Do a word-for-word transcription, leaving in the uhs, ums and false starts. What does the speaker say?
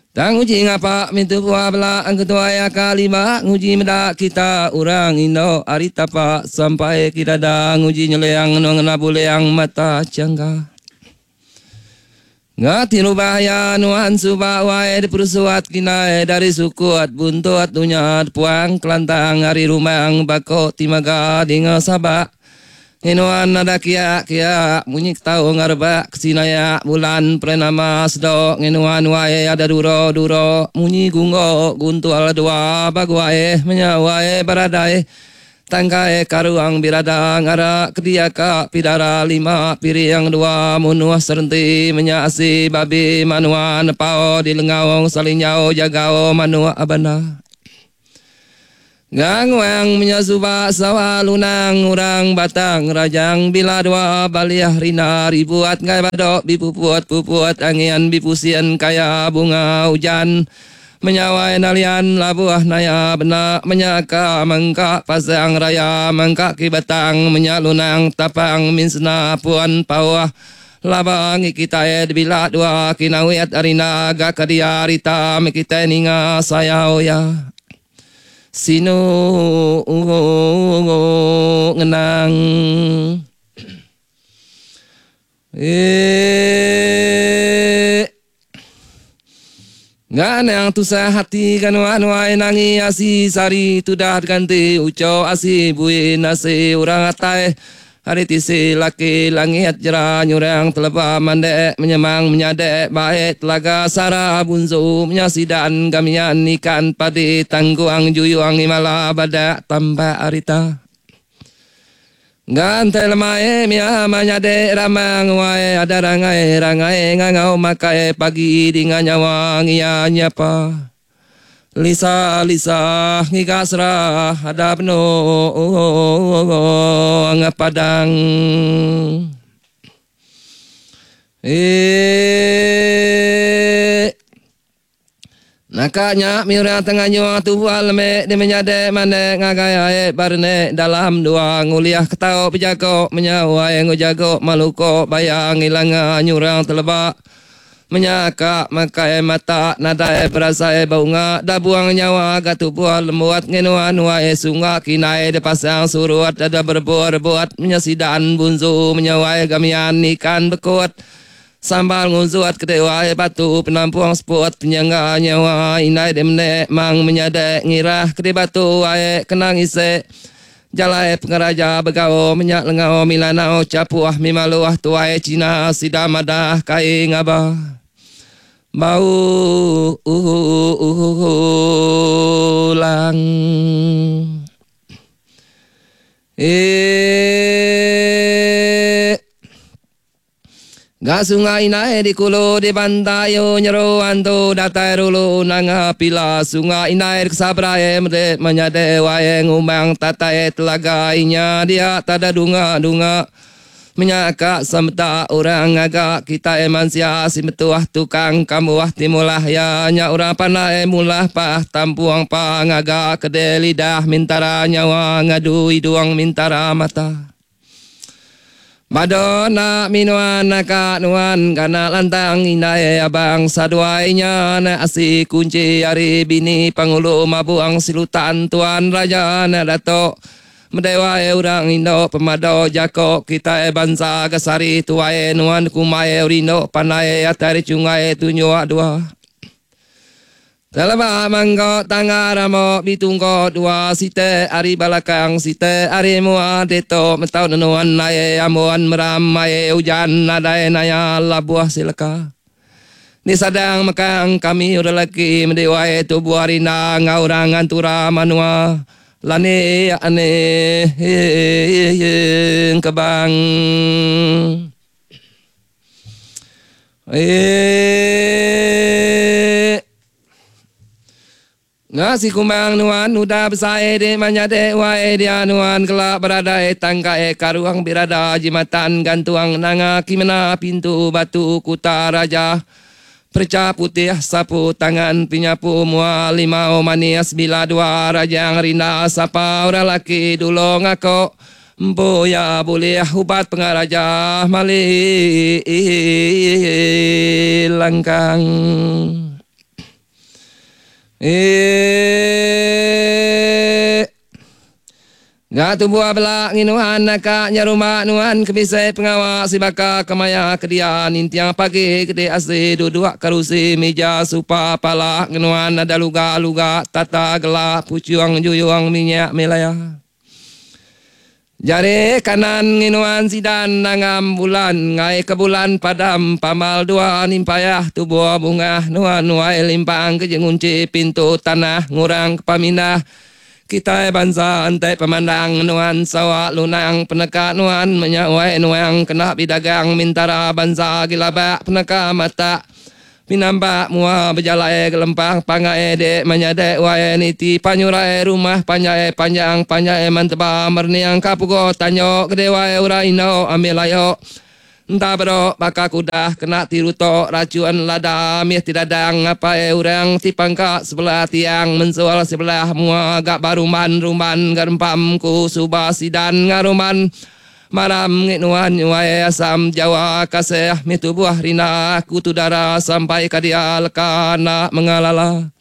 Tang uji ngapa mintu buah bela angku tuai aka lima nguji meda kita orang indo ari tapa sampai kita da nguji nyeliang ngena ngena buliang mata cangga. Ngati rubah ya nuan suba wai diperusuat kinai dari sukuat buntut dunya puang kelantang ari rumang bako timaga dinga sabak. Inuan ada kia kia munyi tau ngarbak kesinaya bulan purnama sedok nginuan wae ada duro duro munyi gunggo guntual dua baguae menyawai baradai tangkai karuang birada ngara kediaka pidara lima piriang dua munuh serenti menyasi babi manua nepau di lengaung salinjau jagau manua abana. Gangwang menyasuba sawah lunang urang batang rajang bila dua baliah rina ribuat ngai badok bipupuat pupuat angian bipusian kaya bunga hujan menyawai nalian labuah naya benak menyaka mengka pasang raya mengka kibatang menyalunang tapang minsna puan pawah labang kita ed bila dua kinawiat arina gakadia rita kita ninga sayau ya. Sinu ngenang eh ganang tusah hati kanuan wai nangi asi sari tudah ganti uco asi bui nasi urang atai hari tisi laki langit jera nyurang teleba mandek menyemang menyadek baik telaga sara bunzu menyasidan gamian ikan padi tangguang juyuang imala badak tambah arita. Gantai lemai mia menyadek ramang wae ada rangai rangai ngangau makai pagi dinga nyawa ngia nyapa. Lisa Lisa ngiga serah ada penuh padang. Eh nakanya miura tengah nyuang tubuh lemek di menyadek mandek ngagai ae barne dalam dua nguliah ketau pejago menyawai ngujago maluko bayang ilanga nyurang telebak. Menyaka makai mata nadai berasai bunga da buang nyawa gatu buah lembuat ngenuan wae sunga kinai de pasang suruat ada berbuat-buat menyesidan bunzu menyawai gamian ikan bekut sambal nguzuat kedewa batu penampuang seput penyangga nyawa inai de menek mang menyadek ngirah kede batu wae kenang ise jalai pengeraja begau minyak lengau milanau capuah mimaluah tuai Cina sidamadah kai ngaba bau ulang eh Ga sungai nae di kulu di bantayo nyeru antu datai rulu nanga pila sungai nae kesabrae mede menyade wae ngumang tatai telaga inya dia tada dunga dunga menyaka semta orang agak kita emansia si metuah tukang kamuah timulah ya nya orang panai mulah pah tampuang pangaga kede lidah mintara nyawa ngadu iduang mintara mata. Madonna minuan naka nuan kana lantang inai abang saduainya na asi kunci ari bini pangulu mabuang silutan tuan raja na dato mendewa urang indo pemado jako kita e bangsa gasari tuae nuan kumai urindo panai atari cungai tunyua dua. Talaba manggo tangga ramo bitungko dua site ari balakang site ari mua deto mentau nenuan nae amuan meramai hujan nadai naya labuah silaka. Ni sadang makang kami udah laki mendewae tubuh arina ngaurang antura manua lani ane kebang. Eh Ngasi kumbang nuan udah besai di manyade wae dia nuan kelak berada e tangka e karuang birada jimatan gantuang nanga kimena pintu batu kuta raja perca putih sapu tangan pinyapu mua lima manis bila dua rajang rinda sapa orang laki dulu ngako Empu iya bulih ubat pengaraja mali langkang. Eee. Ga tubuh bela nginuan naka nyerumba nuan ke bisi pengawa sibaka kemaya ke dia ninting pagi gede asi duduk kerusi mija supa pala ngenuan ada luga-luga tata gela puchung juyung minyak milaya. Jari kanan nginuan sidan nangam bulan ngai ke bulan padam pamal dua nimpayah tubuh bungah nuan nuai limpang ke jengunci pintu tanah ngurang ke pamindah. Kitai bansa enti pemandang nuan sawa lunang peneka nuan menyawai nuang kena bidagang mintara bansa gilabak peneka mata pinampak mua bejalai gelempang pangai dek menyadek wai niti panyurai rumah panjai panjang panjai menteba merniang kapugo tanyo gede wai urai ino ambil ayo. Entah berok baka kuda kena tirutok racun lada mih tidadang apai orang ti pangka sebelah tiang mensual sebelah mua gak baruman rumban garempam ku suba sidan ngaruman maram nginuan nyuai asam Jawa kasih mi tubuh rina ku tudara sampai kadia leka nak mengalala.